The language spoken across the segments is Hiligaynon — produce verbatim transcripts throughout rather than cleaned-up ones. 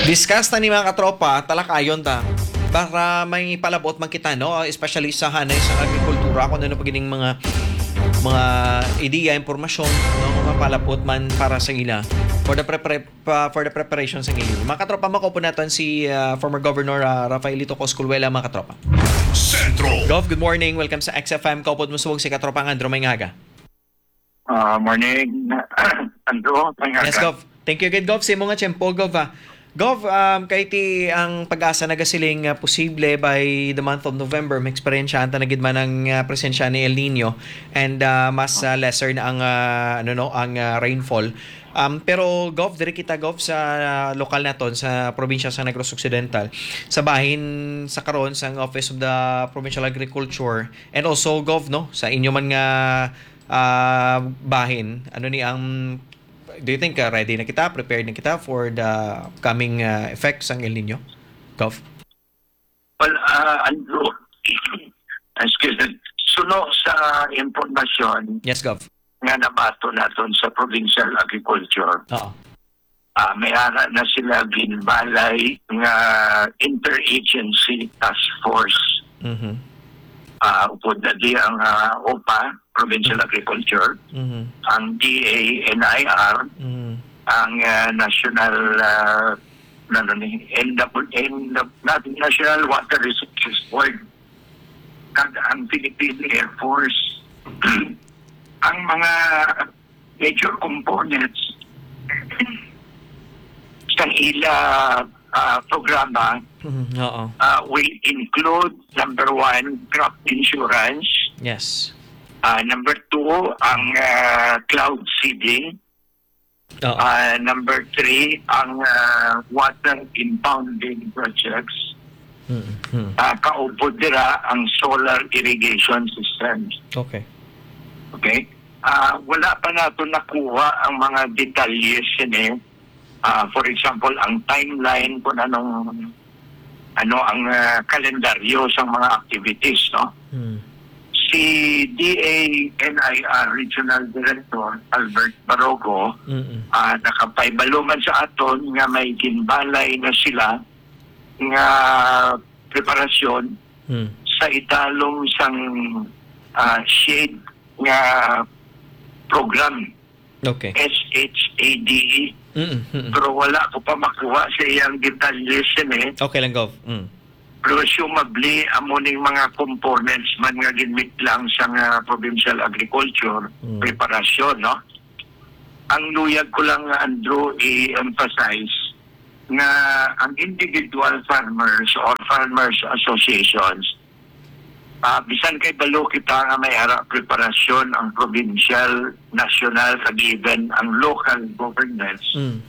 Discuss na ni, mga katropa, talakayon ta. Para may palabot man kita, no? Especially sa hanay sa agrikultura, kung ano pa gining mga, mga ideya, impormasyon, no? Nga mapalabot man para sa ila. For the prepare, pa, for the preparation sa ngayon. Mga katropa, makaupo naton si, ah, former Governor, ah, Rafaelito Cosculuela, mga katropa. Sentro. Gov, good morning. Welcome sa X F M. Kaupod mo subong si katropa nga Andrew, maayong aga. Ah, morning, Andrew. Maayong Yes, aga. Gov. Thank you gid, Gov, sa imo nga tiyempo, Gov, ah. Gov, um, kay ti ang PAGASA nagasiling nga posible by the month of November, may eksperyensyahan ta na gid man ang, ah, presensya ni El Nino and, ah, mas, ah, lesser na ang, ah, ano, no, ang, ah, rainfall. Um, pero, Gov, diri kita, Gov, sa, ah, lokal naton sa probinsya sa Negros Occidental, sa bahin sa karon sang Office of the Provincial Agriculture and also, Gov, no, sa inyo man nga, ah, bahin, ano ni ang, do you think, ah, ready na kita, prepared na kita for the coming, ah, effects sang El Nino, Gov? Well, ah, Andrew, excuse me, suno sa impormasyon Yes, Gov. nga nabaton naton sa Provincial Agriculture, Oo. ah, may ara na sila ginbalay nga interagency task force. Mhm. Ah, upod na di ang, ah, OPA, Provincial Agriculture, Mhm. ang D A N I R, Mhm. ang, ah, National, ah, ano ni, N W, N W, National Water Resources Board, kag ang Philippine Air Force. Ang mga major components sa ila, ah, programa, Mhm, oo. ah, will include, number one, crop insurance. Yes. Ah, number two, ang, ah, cloud seeding. Oo. Ah, number three, ang, ah, water impounding projects. Mm, mm. Ah, kaupod dira ang solar irrigation systems. Okay. Okay? Ah, wala pa nato nakuha ang mga detalye sini. Ah, for example, ang timeline kung anong, ano ang, ah, kalendaryo sa mga activities, no? Hmm. Si D A N I R Regional Director Albert Barogo, Mm-mm. ah, nakapahibalo man sa aton nga may ginbalay na sila nga preparasyon Hmm. sa italom sang, ah, shade nga program, Okay. S H A D E. Mm, mm. Pero wala ko pa makuha sa iyang detalye sini. Okay lang, Gov. Mm. Presumably, amo ning mga components man nga ginmitlang sang, ah, Provincial Agriculture, Mm. preparasyon, no? Ang luyag ko lang, Andrew, i-emphasize nga ang individual farmers or farmers associations, ah, bisan kay balo kita nga may ara preparasyon ang provincial, national, kag even ang local governments, Mm.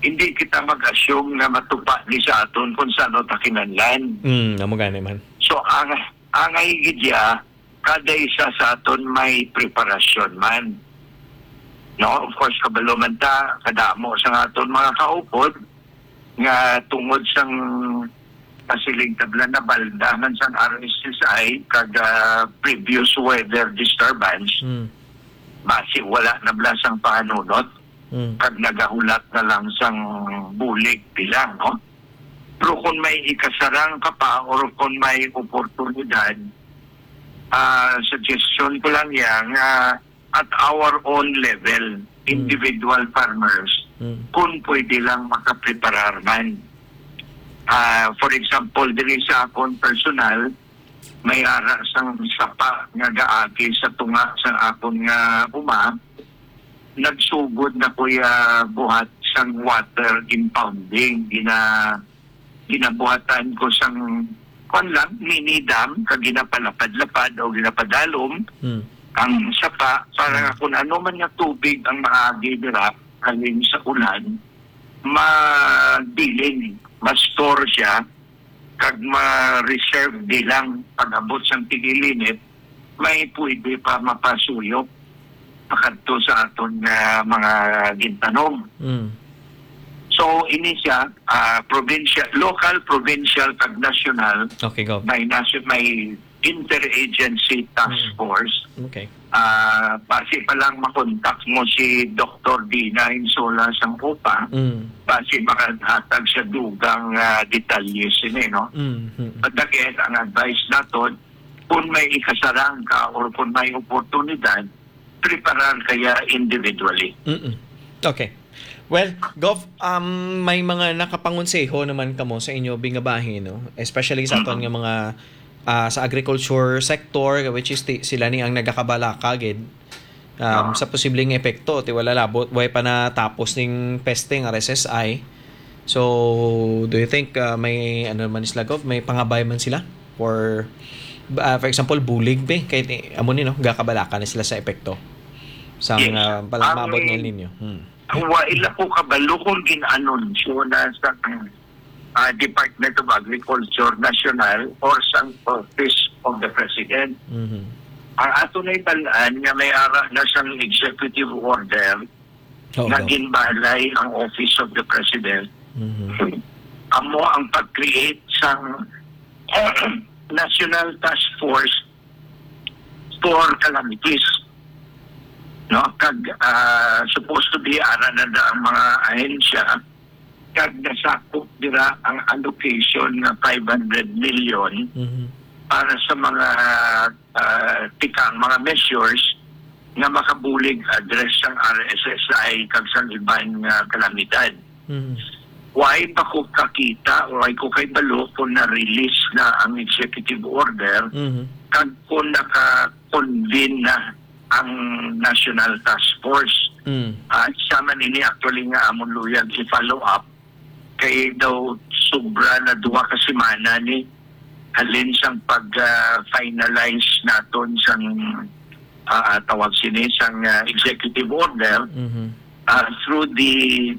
hindi kita mag-assume nga matupa ni sa aton kung sa ano ta kinahanglan. Mm, amo gani man. So, ang, angay gid ya, kada isa sa aton may preparasyon man. No, of course, kabalo man ta, kadamo sa aton mga kaupod nga tungod sang pasiling tabla na balda man sang R S S I kag, ah, previous weather disturbance, Hmm. basi wala na bala sang pahanunot Hmm. kag nagahulat na lang sang bulig bilang, no? Pero kung may ikasarang ka pa or kung may oportunidad, ah, suggestion ko lang yan nga at our own level, Hmm. individual farmers, Hmm. kung pwede lang makapreparar man. Ah, for example, diri sa akon personal, may ara sang sapa nga gaagi sa tunga sa akon nga uma, nagsugod na ko ya buhat sang water impounding. Gina-, ginabuhatan ko sang, kwan lang, mini dam, kag ginapalapad-lapad o ginapadalom Hmm. ang sapa para Hmm. nga kung ano man nga tubig ang maagi dira halin sa ulan, mabilin, ma-store siya, kag ma-reserve bilang pag-abot sang tig-ilinit, may pwede pa mapasuyop pakadto sa aton nga mga gintanom. Mm. So, ini siya, ah, provincial, local, provincial, kag national. Okay, Gov. May nation-, may interagency task Mm. force. Okay. Ah, basi pa lang makontak mo si Doktor Dina Insola sang OPA, Mm. Kasi makahatag sa dugang, ah, detalye sini, no? Mm, mm. But again, ang advice naton, kung may ikasarang ka or kung may oportunidad, preparar kaya individually. Mm-mm. Okay. Well, Gov, um, may mga nakapangonseho naman kamo sa inyo bingabahin, no? Especially sa aton nga mga, ah, sa agriculture sector, which is ti-, sila ni ang nagakabalaka gid, um, sa posibleng epekto, ti wala labot, way pa natapos ning peste nga R S S I. So, do you think, ah, may, ano man sila, Gov, may pangabay man sila? For, ah, for example, bulig, be, kay ti-, amo ni, no, gakabalaka na sila sa epekto sang, Yes. ah, pala-, Ang maabot nga El Nino. Hmm. Wa ila ko kabalo kung gin-anunsyo na sa, ah, Department of Agriculture National or sa Office of the President. Mhm. Ang ato na ibalaan nga may ara na sang executive order Oo, nga oo. ginbalay ang Office of the President. Mhm. Amo ang pag-create sang National Task Force for Calamities. No? Kag, ah, supposed to be, ara na da ang mga ahensya, kag nasakop dira ang allocation nga five hundred million Mhm. para sa mga, ah, tikang mga measures nga makabulig address sang R S S I kag sang iban nga kalamidad. Mhm. Why pa ko kakita, why ko kay balo kung na-release na ang executive order, Mhm. kag kung naka-convene na ang National Task Force. Mm. Ah, isa man ini actually nga amon luyag i-follow up, kay daw sobra na duha ka semana ni halin sang pag, ah, finalize naton sang, ah, tawag sini, sang, ah, executive order, Mhm. ah, through the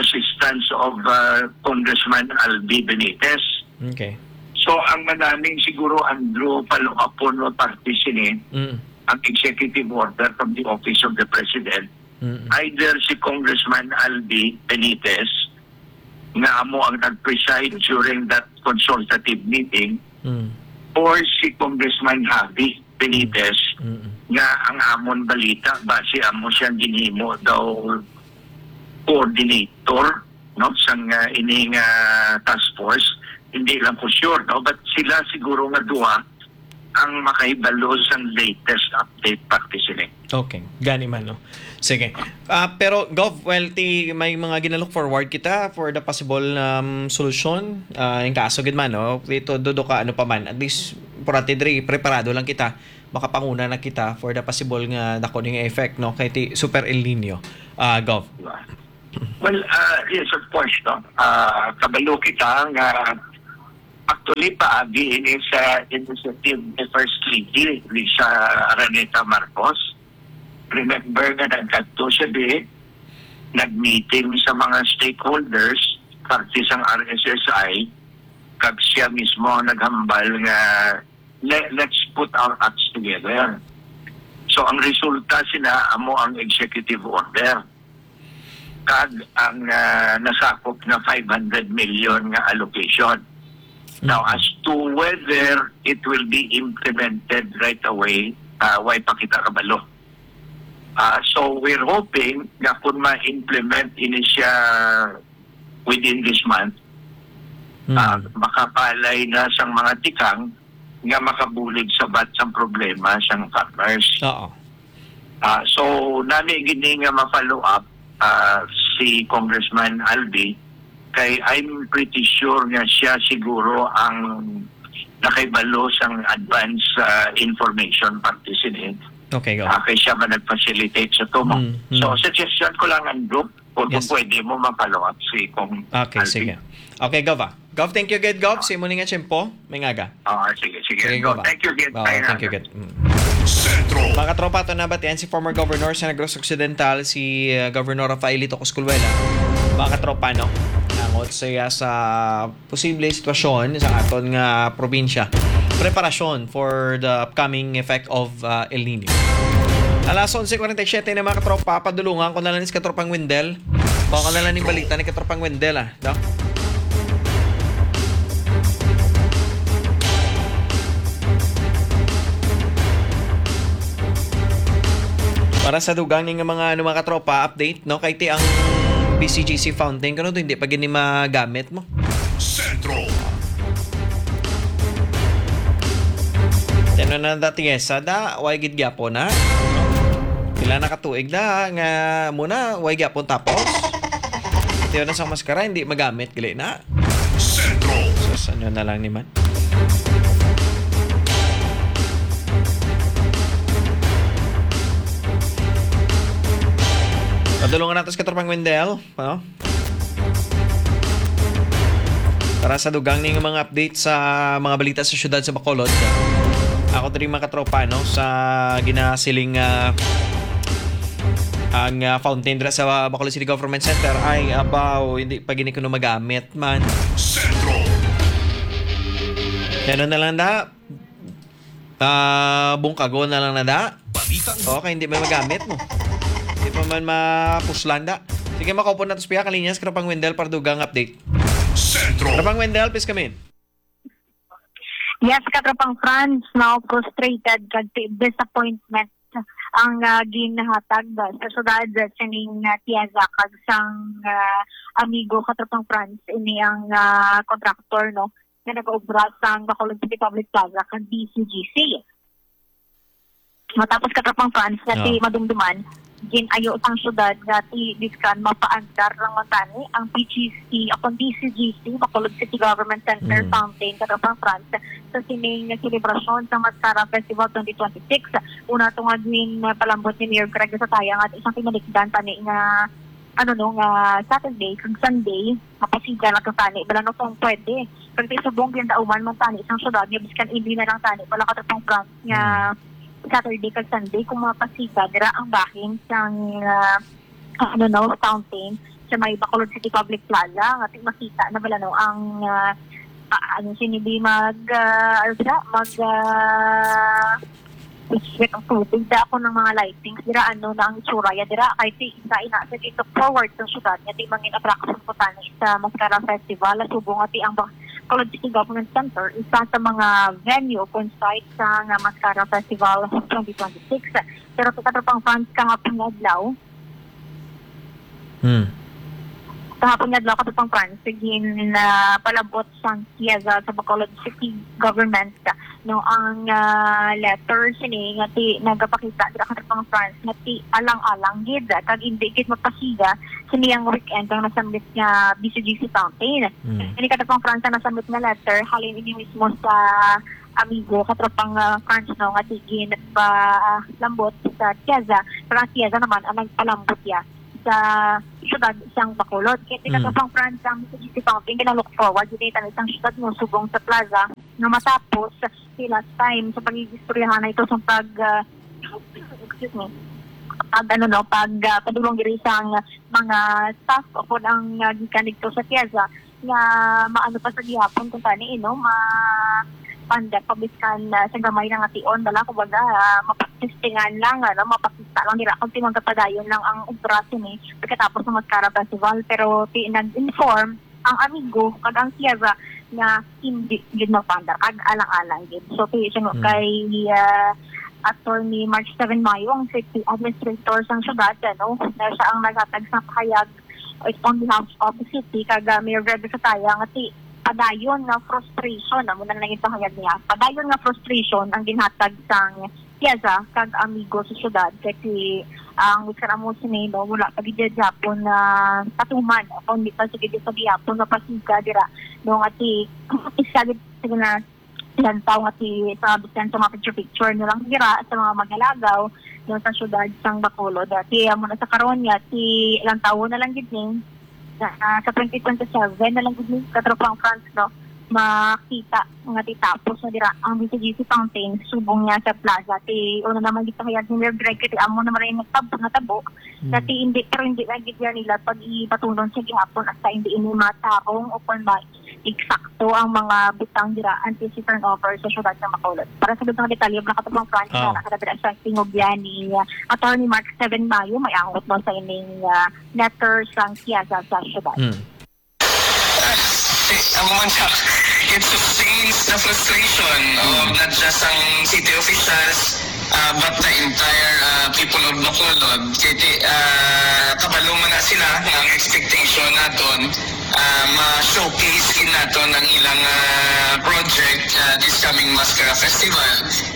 assistance of, ah, Congressman Albi Benitez. Okay. So, ang manaming siguro, Andrew, follow-upon mo parte sini, Mm. ang executive order from the Office of the President, Mm. either si Congressman Albi Benitez, nga amo ang nag-preside during that consultative meeting, Mm. or si Congressman Javi Benitez, Mm. nga ang amon balita, basi amo siyang ginhimo daw coordinator, no, sang, ah, ini nga task force. Hindi lang ko sure, no, but sila siguro nga duha ang makahibalo sang latest update parte sini. Okay, gani man, no? Sige. Ah, pero, Gov, well, ti, may mga ginalook forward kita for the possible, um, solusyon. Ah, in kaso gid man, no? Dito, dudo ka, ano pa man. At least, importante diri, preparado lang kita. Makapanguna na kita for the possible nga dako ning effect, no? Kay ti Super El Nino, ah, Gov. Diba? Well, ah, yes, of course, no? Ah, kabalo kita nga actually paagi ini sa initiative ni First Lady Risa Araneta Marcos. Remember nga nagkadto siya di, nag-meeting sa mga stakeholders, parte sang R S S I, kag siya mismo ang naghambal nga, "Le-, let's put our acts together." So, ang resulta sina amo ang executive order kag ang, ah, nasakop nga five hundred million nga allocation. Now, Mm. as to whether it will be implemented right away, ah, way pa kita kabalo. Ah, so, we're hoping nga kung ma-implement ini siya within this month, Mm. ah, makapalay na sang mga tikang nga makabulig sa bat sang problema sang farmers. Oo. Ah, so, nami gini nga ma-follow up, ah, si Congressman Albi, kay I'm pretty sure nga siya siguro ang nakaibalo sang advance, ah, information parte sini. Okay, go. Ah, kay siya man nag-facilitate sa tumo. Mm, mm. So, suggestion ko lang, Andrew, kung, kung Yes. pwede mo ma-follow up si Cong Okay, Alvin. Sige. Okay, Gov, ah. Gov, thank you gid, Gov. Sa imo ni nga tiyempo, may ngaga. Ah, sige, sige. Sige, Gov, ah. Thank you gid. Ah, Ay, thank you nga. gid. Mm. Sentro. Mga katropa, ato nabatian si former Governor sa Negros Occidental, si, uh, Governor Rafaelito Cosculuela. Mga katropa, no? Nangot siya sa posible sitwasyon sa aton nga probinsya. Preparasyon for the upcoming effect of, uh, El Nino. Alas onse cuarenta y siete na, mga katropa, padulungan ko na lang si Katropang Wendell. Baka na lang ning balita ni Katropang Wendell, ah, no? Para sa dugang ning mga, ano, mga katropa, update, no? Kay ti ang B C G C fountain, kuno to, hindi pa gini magamit mo. Sentro. Tino na dati, yes, sada, way gid gyapon, ha? Pila na katuig na, nga muna, way gyapon tapos. Ito na sa maskara, hindi magamit, gali na. Sentro. Sus, ano na lang ni man. Padulungan nato sa katropang Wendell, no? Para sa dugang ning mga update sa mga balita sa siyudad sa Bacolod. Ako diri, mga katropa, no, sa ginasiling, ah, ang, ah, fountain dira sa Bacolod City Government Center ay abaw, hindi pa gini kuno magamit man. Sentro. Ano na lang da? Ah, bungkago na lang na da. Balitang Okay, hindi man magamit mo. Hindi pa man mapuslan da. Sige, makaupo na to sa piya ka linya sa Katropang Wendell para dugang update. Sentro. Katropang Wendell, please come in. Yes, Katropang Franz, now frustrated kag ti-, disappointment ang, ah, ginahatag sa syudad sining, ah, Tiaza kag sang, ah, amigo, Katropang Franz, ini ang, ah, contractor, no, nga nagaobra sang Bacolod City Public Plaza kag B C G C. Matapos, Katropang Franz, nga ti Oh. madumduman, gin-ayo sang syudad nga ti biskan mapaandar lang man tani ang B G C, akon, B C G C, Bacolod City Government Center Mm. Fountain, Katropang Franz, sa sining selebrasyon sa Mascara Festival twenty twenty-six. Una to nga gin, ah, palambot ni Mayor Greg Sataya nga isang timalikdan tani nga, ano, no, nga Saturday kag Sunday, mapasiga lang to tani. Bala, no, kung pwede. Kag ti subong gindauman man tani sang syudad nga biskan hindi na lang tani, bala, Katropang Franz, nga Hmm. Saturday kag Sunday, kung mapasiga dira ang bahin sang, ah, ano, no, fountain sa may Bacolod City Public Plaza, nga ti makita na bala, no, ang, ah, ah, ano, sini di mag, ah, ano sila? Mag, ah, Sweat ang tubig, da ako ng mga lightings. Dira, ano na ang itsura ya dira? Kay ti isa ina sa gin-look forward sa syudad nga ti mangin attraction ko tani sa Mascara Festival. Subong nga ti ang Bacolod City Government Center, isa sa mga venue kung site sa nga Mascara Festival twenty twenty-six. Pero sa Katropang Franz, kahapon nga adlaw, Hmm. Kahapon nga adlaw, Katropang Franz, gin, ah, palabot sang Tiaza sa Bacolod City Government, no, ang, ah, letter sini nga ti nagapakita dira, Katropang Franz, nga ti alang-alang gid kag indi gid mapasiga sini ang weekend ang nasambit nga B C G C fountain. Hmm. Ini, Katropang Franz, ang nasambit nga letter halin ini mismo sa amigo, Katropang, ah, Franz, no, nga ti ginpalambot sa Tiaza, pero ang Tiaza naman ang nagpalambot ya sa syudad sang Bacolod. Kaya ti Mm. Katropang Franz, ang B C G C fountain, gina-look forward gid ito sang syudad, no, subong sa plaza, nga matapos ti last time sa pag-iistoryahan na ito sa pag, ah, excuse me, pag, ano, no, pag, ah, padulong diri sang mga staff o kung ang, ah, gikan dito sa Tiaza, nga maano pa sa gihapon kung tani, eh, no, ma-, panda pa biskan, ah, sa gamay na nga tion, bala, kumbaga, ah, mapagtestingan lang, ano, mapakita lang nila kung ti magapadayon lang ang obra sini pagkatapos ng Mascara Festival. Pero ti nag-inform ang amigo kag ang Sierra nga hindi gid mapanda kag alang-alang gid. So, ti sino Mm. kay, ah, Attorney March seven Mayo, ang city administrator sang syudad, ano, na siya ang naghatag sa pahayag on behalf of the city, kag, ah, Mayor Greg Sataya, nga ti padayon nga frustration, amo na lang ipahayag niya. Padayon nga frustration ang ginhatag sang Tiaza kag amigo sa syudad, kay ti ang wiskan amo sini, no, wala pa gid gihapon na patuman, o kung di pa sige sa gihapon nga pasiga dira, no, nga ti isa gid, sige na, lantaw nga ti sa bisan sa mga picture-picture na lang dira sa mga magalagaw, no, sa syudad sang Bacolod. Dati amo na sa karon nga ti lantawon na lang gid ni, ah, sa twenty twenty-seven na lang gid ni, Katropang Franz, no, makita nga ti tapos na dira ang B C G C fountain subong niya sa plaza. Ti una naman gipahayag ni Mayor Greg, kay ti amo naman ang nagtab-, natabo. Hmm. Dati hindi, pero hindi na gid nila pag ipatunon sa gihapon hasta hindi ini matarong o kung ma-, eksakto ang mga butang dira antes i-turnover sa syudad sa Bacolod. Para sa dugang detalye, mga Katropang Franz, Oh. na nakadabira sa tingog yan ni, uh, Attorney Mark Seven Mayo, may angot mo sa ining, uh, letter sang Tiaza sa syudad. Hmm. Eh, ang mansa. It sustains the frustration of not just ang city officials, uh, but the entire uh, people of Bacolod. Kaya uh, kabalo man na sila nga ang expectation naton uh, ma-showcase gid naton ang ilang uh, project uh, this coming Mascara Festival.